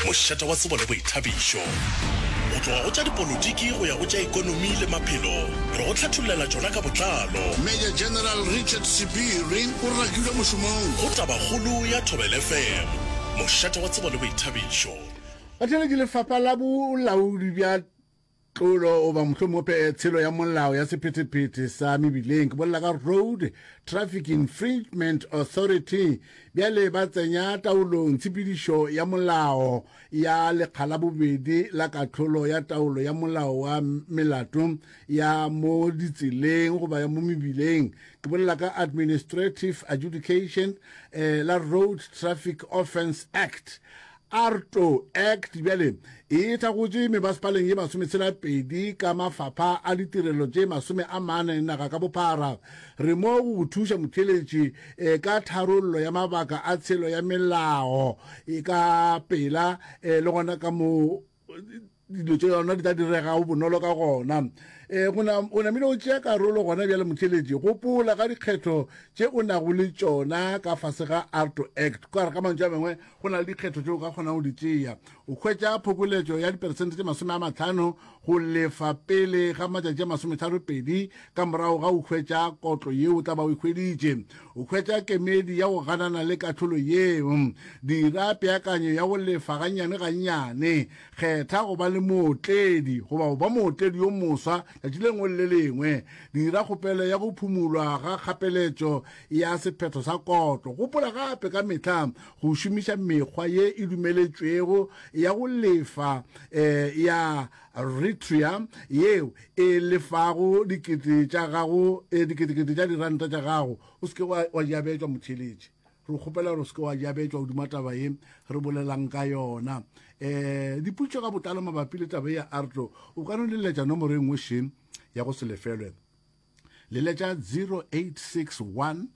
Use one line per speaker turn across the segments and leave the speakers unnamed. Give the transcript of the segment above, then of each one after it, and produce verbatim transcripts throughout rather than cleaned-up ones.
Mošate wa tsebo le boithabišo. Go tloga go tša dipolotiki go ya go tša ekonomi le maphelo, re go hlathollela tšona ka botlalo.
Major General Richard Sebiri o rakilwe mošomong.
Go Tabakgolo ya Thobela F M, mošate wa tsebo le boithabišo.
Batheeletši, Lefapha la Bolaodi bja Tlolo goba mohlomongwe tshelo ya molao ya sephethephethe sa mebileng, ke bolela ka Road Traffic Infringement Authority, bjale ba tsenya taolong tshepedišo ya molao ya lekga la bobedi la kahlolo ya taolo ya molao wa melato ya mo ditseleng goba ya mo mebileng, ke bolela ka Administrative Adjudication eh, la Road Traffic Offence Act, AARTO Act. Bjale e thakgotše mebasepaleng ye masometshela pedi ka mafapha a ditirelo tše masome a mane naga ka bophara. Re mo go go thuša motheeletši eh, ka tharollo ya mabaka a tshelo ya melao e ka pela eh, le gona ka mo dilo tše yona di tla diregago bonolo ka gona. E, go na, o namile o tšea karolo gona bjale motheeletši. Gopola ka dikgetho tše o nago le tšona ka fase ga AARTO Act. Ka re ka mantšu a mangwe, go na le dikgetho tše o ka kgonago go di tšea. O hwetša phokoletšo ya diperesente tše masome a mahlano go lefa pele ga matšatši a masometharo pedi ka morago ga go hwetša kotlo yeo o tla ba o e hweditše. O hwetša kemedi ya go ganana le kahlolo yeo. Dira peakanyo ya go lefa gannyane gannyane. Kgetha go ba le mootledi goba go ba mootledi yo moswa tšatši le lengwe le le lengwe. Dira kgopelo ya go phumulwa ga kgapeletšo ya sephetho sa kotlo. Gopola gape ka mehla go šomiša mekgwa ye e dumeletšwego ya go lefa ya Retria yeo e lefago dikete tša gago, diketekete tša diranta tša gago. O se ke wa jabetšwa motheeletši. Re kgopela gore o se ke wa jabetšwa godimo taba ye re bolelang ka yona. Um dipotšišo ka botlalo mabapi le taba ye ya AARTO, o ka no leletša nomoro e nngwe še ya go se lefelwe. Leletša zero eight six one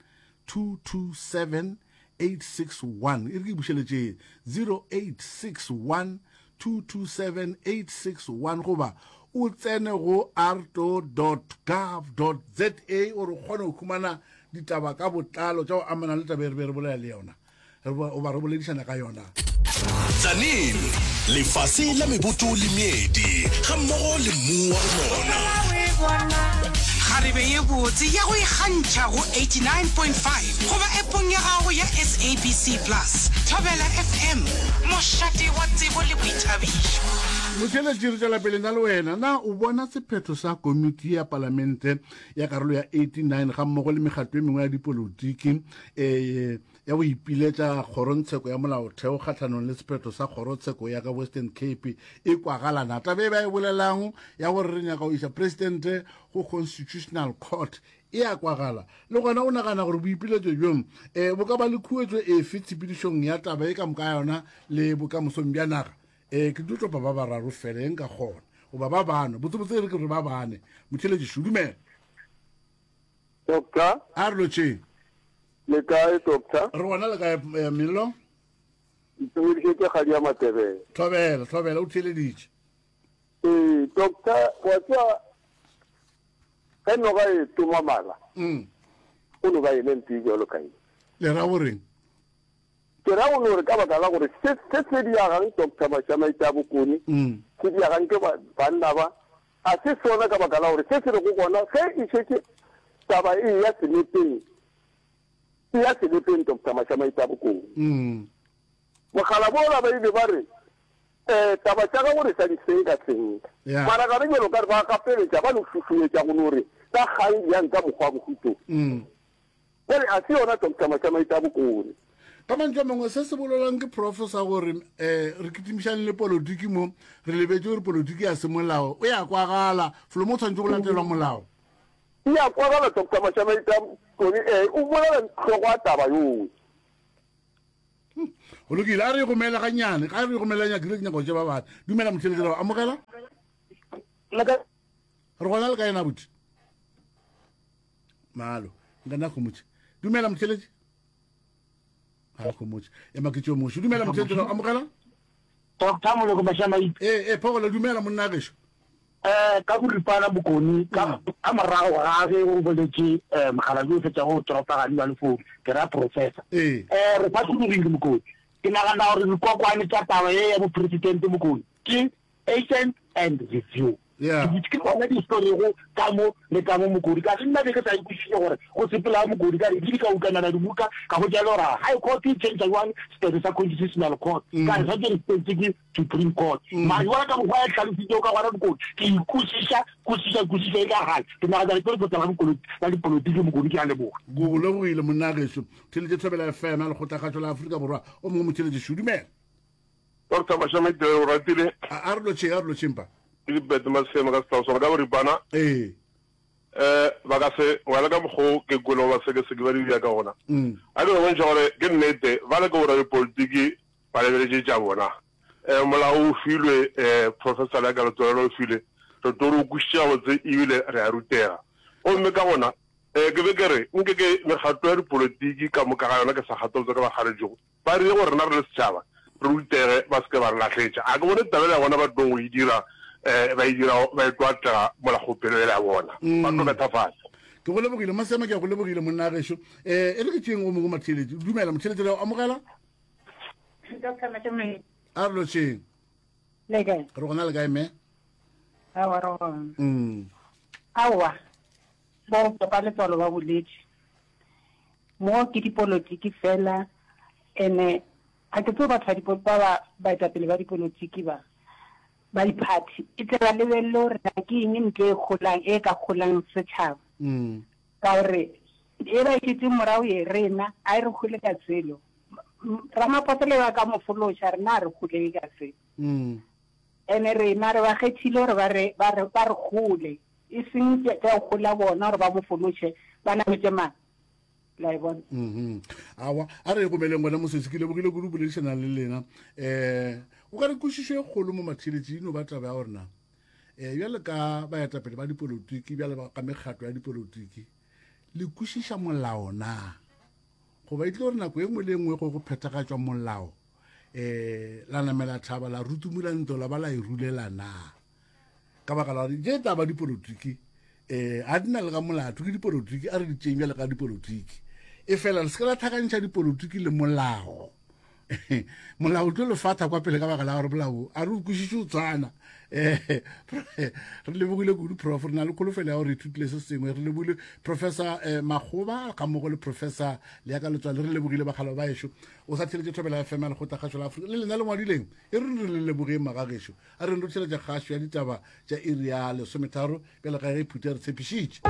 two two seven eight six one. E re ke bušeletše, zero eight six one two two seven eight six one, goba o tsene go aarto dot gov dot za gore o kgone go humana ditaba ka botlalo tša go amana le taba e re be re bolela le yona goba re boledišana ka yona.
Tzaneen, lefase la meboto le meedi gammogo le mmu wa go nona.
Kgarebe ye botse ya go ikgantšha go eighty-nine point five goba appong ya gago ya S A B C Plus. Thobela F M, mošate wa tsebo le boithabišo.
Motheeletši, re tšwela pele nna le wena. Na o bona sephetho sa komiti ya palamente ya karolo ya eighty-nine ga mmogo le mekgatlo e mengwe ya dipolotiki um ya go ipiletša kgorongtsheko ya molaotheo kgahlanong le sephetho sa kgorotsheko ya ka Western Cape e kwagalana? Taba e ba e bolelang ya gore re nyaka go iša presidente go Constitutional Court e a kwagala? Le gona o nagana gore boipiletšo bjo um bo ka ba le khuetšo efe tshepedišong ya taba e ka moka yona le bokamosong bja naga? um ke tlo topa ba bararo fela e nka kgona, goba ba bane, botsebotse e re ke re ba bane. Motheeletši, dumela.
Doctor.
A re lotšheng.
Le kae, doctor?
Re gona, le kae, eh, Mello?
Ntumedišetše kgadi ya Matebele.
Thobela, thobela, o theeleditše.
Ee, doctor, wa tseba ge noga e toma mala,
mm.
o no ba ene mpe jalo ka eng?
Le ra goreng?
Ke ra go no re ka baka la gore se se se diagang, Doctor Mashamaite a Bokone,
mm.
se diagang ke banna ba a se sona, ka baka la gore se se rego gona ge e šetše taba e ya selepeng, e ya selepeng, Doctor Mashamaite a Bokone.
Mm.
Mogala bola ba ile ba re um taba tša gago re sa di senka senka,
Yeah.
mara gare jalo ka re ba gapeletša ba no šušumetša go no re ka kgang bjang ka mokgwa wa bohuto.
Mm.
Jale a se yona, Doctor Mashamaite a Bokone.
Ka mantšu a mangwe, se se bolelwang ke professor gore um re kitimišane le politiki mo re lebetse gore politiki ya semolao o ya kwagala felo mo tshwanetse go latelwa molao.
E ya kwagala, Doctor Mashamaite a Bokone, ee, o bolela tlhogo a taba yowe.
Go lokile, a re gomele gannyane, ga re gomele nyakile ke nyako tše ba bane. Dumela motheeletši, re amogela. Re gona, le ka ena buti malo nka gomotše. Dumela motheeletši, ga gomotše, ema ke tšeo moši. Dumela motheeletši, re amogela.
Doctor Moloko Mashamaite.
Ee, ee, phogolo, dumela monna gešo.
um ka boripana, Bokone, ka ka morago ga ge o boletše um mogalabi o fetša go toropagane wa lefounu, ke ra professor,
ee
um re phathologile, Mokone. Ke nagana gore dikokwane tša taba ye ya bopresidente Mokone ke assent and review.
Yeah.
Ke ke tsona di swerego ka mo le ka mo Mokodi. Ka ge nna be ke sa e kwešiše gore go sepela Mokodi ka re ke di ka ukanana dibuka ka hwetša e le gore High Court e change jwang sephetho sa Constitutional Court. Ka re santse re sepetse ke Supreme Court. Mara jwale ka mokgwa ya hlalositšego ka gona Mokodi ke e kwešiša kwešiša kwešiša e ka gale. Ke nagana gore ke lekgotla la bokolo la dipolotiki Mokodi ke a leboga.
Go go lebogile monna gešo. Theletše Thobela F M ya Lekgotlakgašo la Afrika Borwa. O mongwe motheletši šo dumela.
Doctor Mashamaite o ratile.
A, a re lotšheng, a re lotšheng pa.
Ke dibete maseme ka setao sona ka boripana.
Ee.
Eh, ba ka se wela ka mokgo ke kwele ba sekeseke ba di ka gona.
Mm.
A ke go bontšha gore ke nnete ba le ke bora dipolotiki ba lebeletše tša bona. Eh, molao o filwe, eh, professor ya ka letswalo o filwe. Re tlo re o kwešiša gabotse ebile re a rutega. Gomme ka gona, eh, ke be ke re nke ke mekgatlo ya dipolotiki ka moka ga yona ke sa kgatolotse ka ba kgaletšego. Ba rile gore rena re le setšhaba re rutege ba se ke ba re lahletša. A ke bone taba ya bona ba tlong go e dira, eh, ba e dira, ba e tlo atlega mola kgopelo ela ya bona. Ba tlo betha fase.
Ke go lebogile Masema, ke a go lebogile monna gešo. Eh, e re ke tšeng o mongwe motheeletši. Dumela motheeletši, re a o amogela?
Doctor Mashamaite.
A re lotšheng.
Le kae?
Re gona le kae, mme?
Aowa, re gona.
Mm.
Aowa, bo papa letswalo ba boletše. Mo ke dipolotiki fela, ene ga ke tsebe batho ba dipo-, ba ba baetapele ba dipolotiki ba, ba diphathi, e tle ba lebelele gore na ke eng ntho e golang, e ka golang setšhaba.
Mm.
Ka gore e ba e šetše morago ye rena, a e re gole ka selo. Ramaphosa le ba ka mo fološa, rena a re gole ka selo.
Mm.
Ene rena re ba kgethile gore ba re, ba re, ba re gole, e seng tša, tša go gola bona gore ba mo fološe, ba nametše mang? La e bona?
Mhm. Aowa, a re gomeleng gona mosesi, ke lebogile kudu boledišana le lena. Eh, o ka re kwešišo e kgolo mo matheletši eno ba taba ya gore na, eh, bjale ka baetapele ba dipolotiki, bjale ba ka mekgatlo ya dipolotiki, le kwešiša molao na? Goba e tlo gore nako e nngwe le e nngwe go go phethagatšwa molao, eh, la namela thaba, la rutumula ntlo, la ba la e rulela na? Ka baka la gore tše taba dipolotiki, eh, a di na le ka molato, ke dipolotiki, a re di tšeng bjale ka dipolotiki. E fela le se ke la tlhakantšha dipolotiki le molao. Molao o tlo le fatha kwa pele ka baka la gore molao a re o kwešiše o tshwana. Eh, re lebogile kudu prof, re na le kholofelo ya gore re ithutile se sengwe. Re lebogile Professor, eh, Makgoba ga mmogo le Professor Leaka Letswalo, re lebogile bakgalabje ba ešo. O sa theletše Thobela F M ya Lekgotlakgašo la Afrika. Le lena le ngwadileng, e re re le lebogeng magagešo. A re re theletše kgašo ya ditaba tša iri ya lesometharo bjale ga ge phutha re tshepišitše.